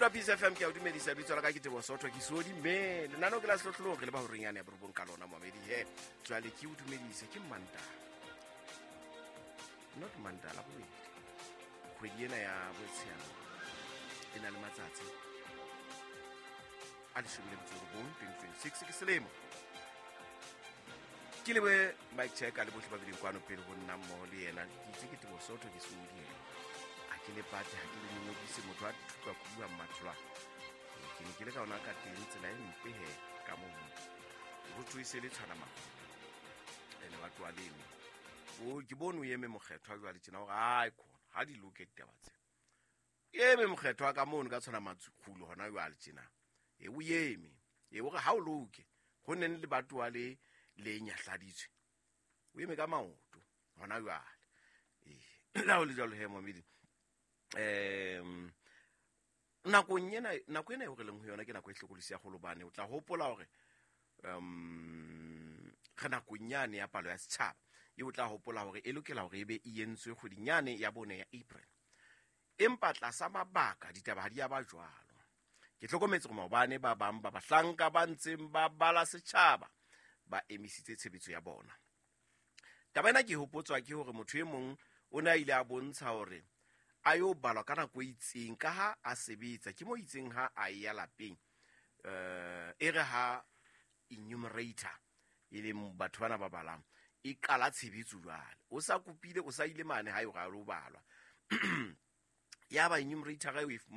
Mohamedi wa Peace FM, ke a o dumedisa. Bitso la ka ke Tebo Sotho, ke sodi mme lenaneo ke la sehlohlolong, re le ba horeng yane ya borobong ka lona, moamedi he. Jwale ke o dumedise, ke Mantaha, not Mantaha, la bobedi kgwedi ena ya Botsheano, e na le matsatsi a 19, 2026 ke selemo. Ke lebe Mike Check le bohle ba bileng kwano pele ho nna mmoho le yena. Ke itse ke Tebo Sotho, ke sodi he, ha ke le pate, ha ke le nyonyodise motho a thuka kubuang matholwana. Ke ne ke le ka ona ka teng tsela e mpe he ka mono ho thwe se le tshwana makuto ene batho ba leme o ke bone o eme mokgethwa jwale tjena hore ai khona ha di loke ditaba tse eme mokgethwa ka mono ka tshwana matsukgulo hona jwale tjena e o eme e o re ha o loke ho neng le batho wa le nyahladitswe o eme ka maoto hona jwale. Ee, la ho le jwalo he, momedi, nakong ena, nako ena eo re leng ho yona ke nako e hlokolosi ya golobane. O tla hopola hore re nakong yane ya palo ya setjhaba e o tla hopola hore e lokela hore e be e entswe kgweding yane ya bone ya April, empa tlasa mabaka ditaba ha di ya ba jwalo. Ke hlokometse gore maobane ba bang ba bahlanka ba ntseng ba bala setjhaba ba emisitse tshebetso ya bona. Taba ena ke hopotswa ke hore motho e mong o ne a ile a bontsha hore a yo balwa ka nako e itseng ka ha a sebetsa ke mo itseng ha a ya lapeng, e re ha enumerator, e leng batho bana ba balang, e qala tshebetso jwale o sa kopile, o sa ile mane ha e ga lo balwa, ya ba enumerator e o e fumana.